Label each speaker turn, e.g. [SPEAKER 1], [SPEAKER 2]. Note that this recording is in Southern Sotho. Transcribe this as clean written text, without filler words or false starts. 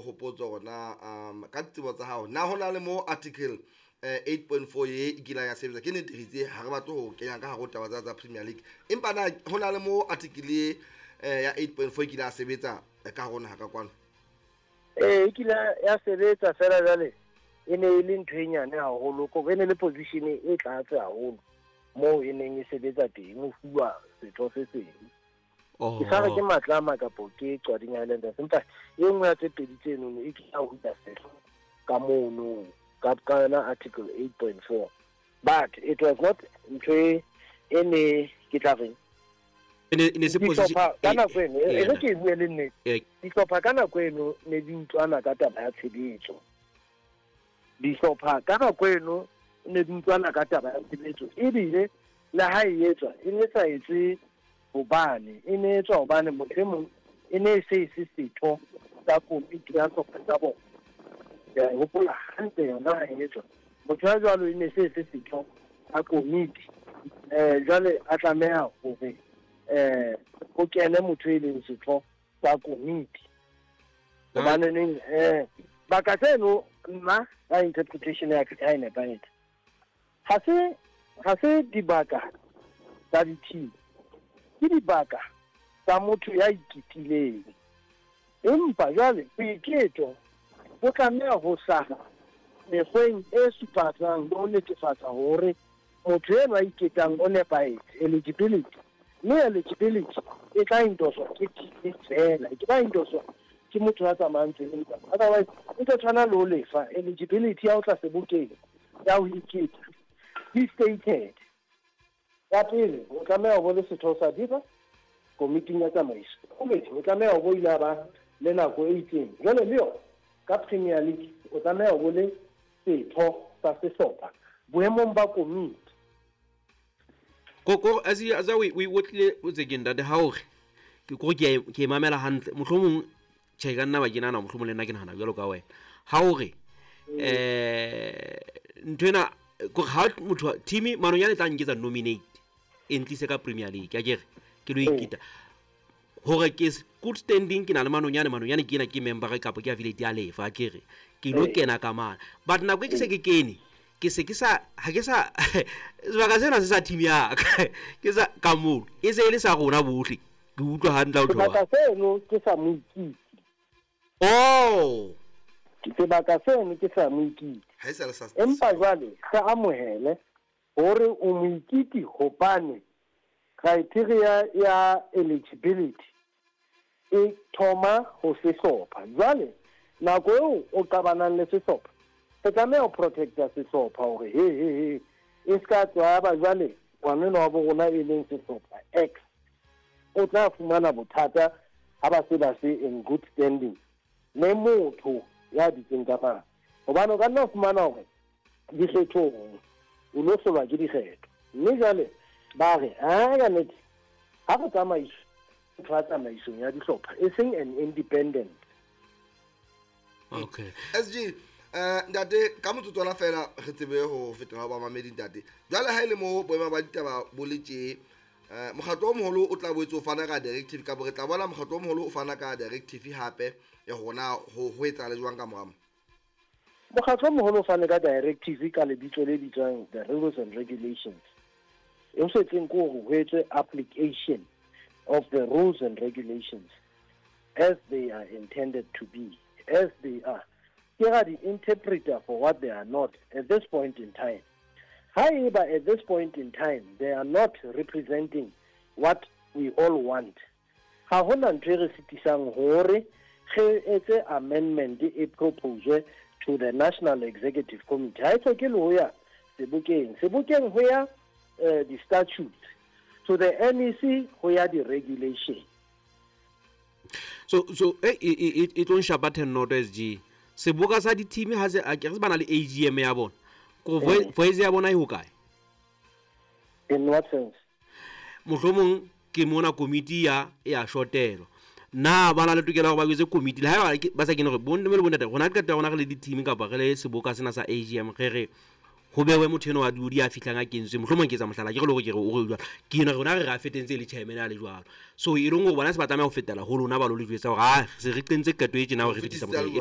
[SPEAKER 1] hopotse hore na ka ditsebo tsa hao na ho na le mo article 8.4 ye e kileng ya sebetsa. Ke nnete re itse ha re batle ho kenya ka hare ho taba tsa Premier League, empa na ho na le mo article ya 8.4 e kile ya sebetsa ka hare ho naha ka kwano?
[SPEAKER 2] Ee, e kile ya sebetsa fela jwale e ne e le ntho e nyane haholo, ko e ne le position e tlatse haholo moo e neng e sebetsa teng ho fuwa setho se seng.
[SPEAKER 3] Oh.
[SPEAKER 2] Ke sa re ke Matlama kapo ke Qwading Highlanders, empa e nngwe ya tse pedi tsenono e kile ya hula setho ka mono ka yona article 8.4, but it was not ntho e ne ke tla reng
[SPEAKER 3] E ne se position
[SPEAKER 2] dihlopha ka nako eno, e re ke e bue le nnete, dihlopha ka nako eno ne di utlwana ka taba ya tshebetso. Dihlopha ka nako eno ne di utlwana ka taba ya tshebetso, ebile le ha e etswa e ne sa etswe hobane e ne etswa hobane motho e mong e ne e se e se setho sa komiti ya sehlopha sa bona. Ke a e hopola hantle yona ha e etswa, motho ya jwalo e ne se e se setho sa komiti, jwale a tlameha hore ho kene motho e leng setho sa komiti. Hobaneneng baka tseno nna ka interpretation ya ka ha e nepahetse, ha se dibaka tsa di-team, ke dibaka tsa motho ya iketileng. Empa jwale boiketo bo tlameha ho hlaha mekgweng e supatsang le ho netefatsa hore motho enwa a iketang o nepahetse, eligibility. Mme eligibility e tla endoswa ke team fela, e ke ba endoswa ke motho ya tsamayang tseleng. Otherwise e tlo tshwana le ho lefa eligibility ya ho tla sebokeng ya ho iketa di stated. Ya pele, o tlameha ho bo le setho sa DIFA komiting ya tsamaiso. Bobedi, o tlameha ho bo ile ba le nako e itseng. Jwale le yona ka Premier League o tlameha ho bo le setho sa sehlopha boemong ba komiti.
[SPEAKER 3] Ko as as we otlile o tsekeng ntate ha hore ke ko ke mamela hantle, mohlomong tjhe ka nna ba ke nahana mohlomong le nna ke nahana jwalo ka wena. Ha hore nthwena ko ha motho team Manonyane tla nketsa nominate e ntlise ka Premier League, a kere ke lo ikita hore ke good standing, ke na le Manonyane, Manonyane ke ena ke member kapa ke affiliate ya lefa, a kere ke lo kena ka mana. But nako e ke se ke kene, ke se ke sa ha ke sa sebaka sena se sa team ya ka, ke sa ka moo e se e le sa rona bohle. Ke utlwa hantle ho tloha.
[SPEAKER 2] Sebaka seno ke sa moikiti.
[SPEAKER 3] Oh.
[SPEAKER 2] Sebaka seno ke sa moikiti.
[SPEAKER 1] Ha e sa le sa
[SPEAKER 2] Empa jwale re amohele hore o moikiti hobane criteria ya eligibility e thoma ho sehlopha. Jwale nako eo o qabanang le sehlopha, re tlameha ho protecta sehlopha hore he he he e ska tswa ba jwale ngwanenwa wa bo rona e leng sehlopha X o tla fumana bothata ha ba se ba se in good standing le motho ya dutseng ka mane. Hobane o ka nna fumana hore dikgethong o lo hlolwa ke dikgetho, mme jwale ba re ha ka nnete ha re tsamaiso motho wa tsamaisong ya dihlopha e seng an independent.
[SPEAKER 3] Okay.
[SPEAKER 1] SG, ntate ka motsotswana fela re tsebe ho fetela ho bamamedi ntate. Jwale ha ile mo boemo ba ditaba bo le tje, mokgatlo o moholo o tla boetse o fana ka directive, ka bo re tla bona mokgatlo o moholo o fana ka directive hape ya hona ho etsahala jwang ka morao.
[SPEAKER 2] Mokgatlo o moholo o fane ka directive ka lebitso le bitswang the rules and regulations. E ho setseng ke hore ho etswe application of the rules and regulations as they are intended to be, as they are. Ke ra di interpreter for what they are not at this point in time. Haeba at this point in time they are not representing what we all want, ha hona ntho e re sitisang hore re etse amendment e propose to the National Executive Committee. Ha e hloke le ho ya sebokeng, sebokeng ho ya di-statutes, to the NEC ho ya di-regulation.
[SPEAKER 3] So e tlo nshapa 10 noto SG. Seboka sa di-team ha se a ke re bana le AGM ya bona. Ko voice ya bona e hokae?
[SPEAKER 2] In what sense?
[SPEAKER 3] Mohlomong ke mona komiti ya e a shotelo. Na ba na le tokelo ya hore ba etse komiti le ha ba sa kene hore bonne le bontate rona qeta rona re le di-team kapa re le seboka sena sa AGM re re ho bewe motho eno wa di a fihlang a kentswe, mohlomong ke etsa mohlala ke re le hore ke re o re jwalo ke ena rona re ra fetentse le chairman a le jwalo. So e leng hore bona se ba tlameha ho fetela ho lona ba lo le jwetsa hore se re qentse qeto e tjena hore re fetisa motho e